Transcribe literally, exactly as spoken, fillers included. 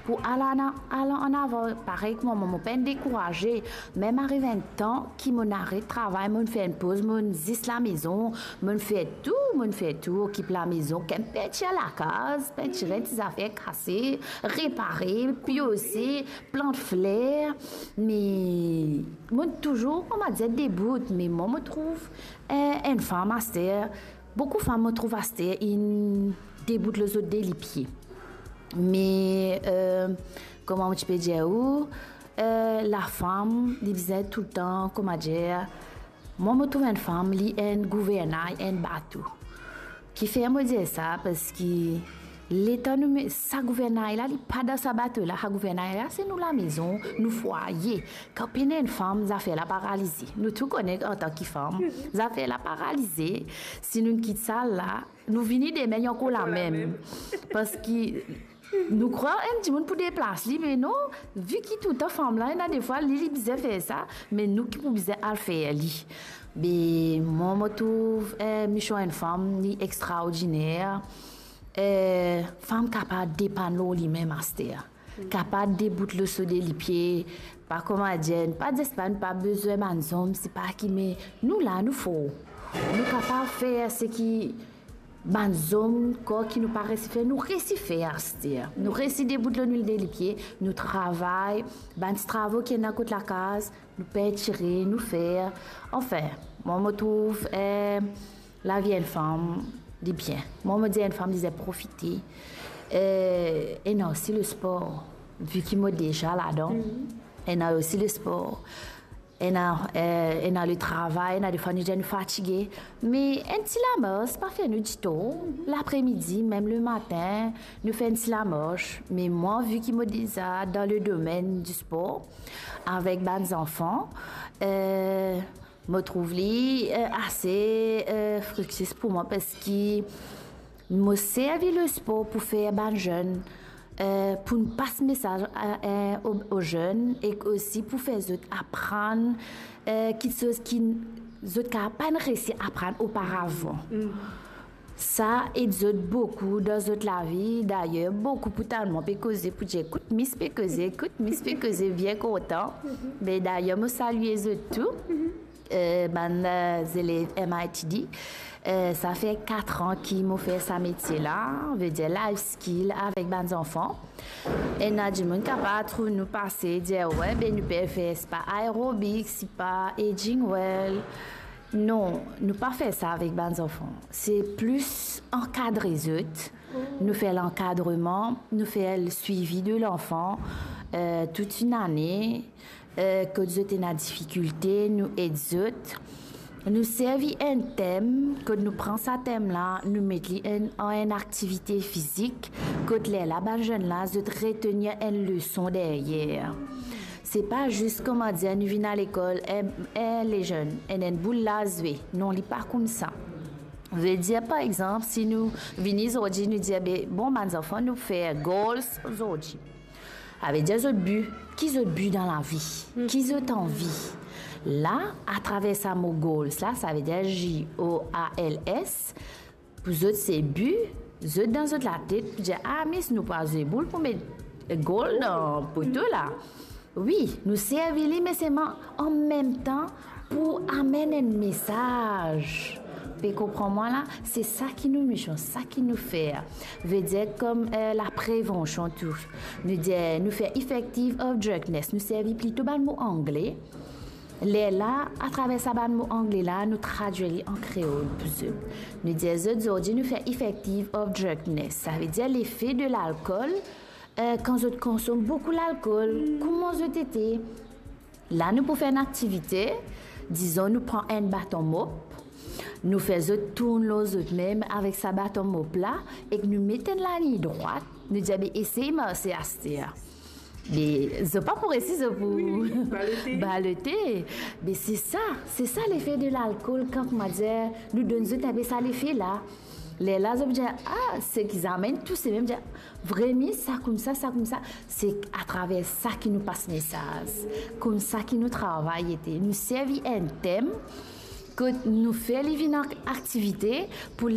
pou al an-, al an avan. Parey kouma mwa, mo pa'nn dekouraze. Mem ariv enn tan ki mo'nn aret travay, mo'nn fer enn poz, mo'nn zis lamezon, mo'nn fer tou, mo'nn fer tou, okip lamezon, kem peintir lakaz, peintir enn ti zafer kase, repare, piose, plant fler. Me mo'nn touzour, kouma dir, debout. Me mwa, mo trouv, eh, enn fam aster, boukou fam, mo trouv, aster inn debout lor zot de lipie. Me, eh, kouma mo ti pe dir ou, eh, lafam, li bizin toultan, kouma dir, mwa, mo trouv enn fam, li enn gouvernay enn bato. Kifer mo dir sa? Parski letan nou me-, sa gouvernay la, li pa dan sa bato la, sa gouvernay la, se nou lamezon, nou fwaye. Kan pena enn fam, zafer la paralize. Nou tou kone antan ki fam, zafer la paralize. Si nou kit sa la, nou vini demin, li ankor lamem. Parski nou krwar enn dimoun pou deplas li, me non, vi ki toultan fam la, ena defwa li, li bizin fer sa, me nou ki pou bizin al fer li. Be mwa, mo trouv, eh, Michou enn fam, li extraordiner. Eh, fam kapav depann lor limem aster. Kapav debout lor so de lipie, pa kouma dir, pa disparet, pa bizin bann zom, se pa ki, me nou la, nou for. Nou kapav fer seki bann zom krwar ki nou pa resi fer, nou resi fer aster. Nou resi debout lor nou de lipie, nou travay, bann ti travo ki ena kot lakaz, nou pintire, nou fer. Anfin, mwa, mo trouv, eh, lavi enn fam, li bien. Mwa, mo dir enn fam, li bizin profite. Eh, ena osi lespor, vi ki mo deza ladan. Ena osi lespor. Ena, eh, ena letravay, ena defwa nou dir nou fatige. Me enn ti lamars pa fer nou ditor. Lapremidi, mem lematin, nou fer enn ti lamars. Me mwa, vi ki mo deza dan le domenn di spor, avek bann zanfan, eh, mo trouv li, eh, ase, eh, friktis pou mwa, parski mo servi lespor pou fer bann zenn, eh, pou pas mesaz a, eh, o, o zenn, ek osi pou fer zot aprann, eh, kiksoz ki zot kapav pa'nn resi aprann oparavan. Sa ed zot boukou dan zot lavi. Dayer, boukou pou talman pe koze pou dir, kout mis pe koze, kout mis pe koze, bien kontan. Me dayer, mo salie zot tou. Eh, bann, eh, zelev M I T D. Eh, sa fer kat an ki mo fer sa metie la, vedir life skill avek bann zanfan. Ena dimoun kapav trouv nou pase, dir, "We, be nou pe fer, sipa aerobik, sipa aging well." Non, nou pa fer sa avek bann zanfan. Se plis ankadre zot. Nou fer lankadreman, nou fer le swivi de lanfan, eh, tout enn ane, eh, kot zot ena difikilte, nou ed zot. Nou servi enn tem, kot nou pran sa tem la, nou met li enn, an enn aktivite fizik, kot lerla bann zenn la, zot retenir enn leson deryer. Se pa zis, kouma dir, nou vinn a lekol, eh, eh, lezenn, enn, enn boul la zwe. Non, li pa koumsa. Vedir, par exanp, si nou vini zordi, nou dir, be, bon, bann zanfan, nou fer goals zordi. Savedir zot bi, ki zot bi dan lavi, ki zot anvi. La, atraver sa mo goals la, savedir G O A L S, pou zot se bi, zot dan zot latet, pou dir, "Ah, mis, nou pa zwe boul pou met goal dan poto la." Wi, nou servi li, me selman an mem tan pou amenn enn mesaz. Pe konpran mwa la? Se sa ki nou mision, sa ki nou fer. Vedir kom, eh, laprevansion tou. Nou dir, nou fer effective of drunkenness. Nou servi plito bann mo angle. Lerla, atraver sa bann mo angle la, nou tradwir li an kreol pou zot. Nou dir zot, zordi nou fer effective of drunkenness. Savedir lefe de lalkol, eh, kan zot konsom boukou lalkol, kouma zot ete. La, nou pou fer enn aktivite, dizon, nou pran enn baton mop, nou fer zot tourn lor zot mem avek sa baton mop la, ek nou met enn laliny drwat, nou dir, "Be, esey marse aster." Be, zot pa pou resi, zot pou balote. Be, se sa, se sa lefe de lalkol, kan, kouma dir, nou donn zot enpe sa lefe la. Lerla zot pou dir, "Ah, seki zame inn touse mem," dir, "Vremem, sa koumsa, sa koumsa." Se atraver sa ki nou pas mesaz, koumsa ki nou travay ete. Nou servi enn tem, kot nou fer li vinn ak-, aktivite pou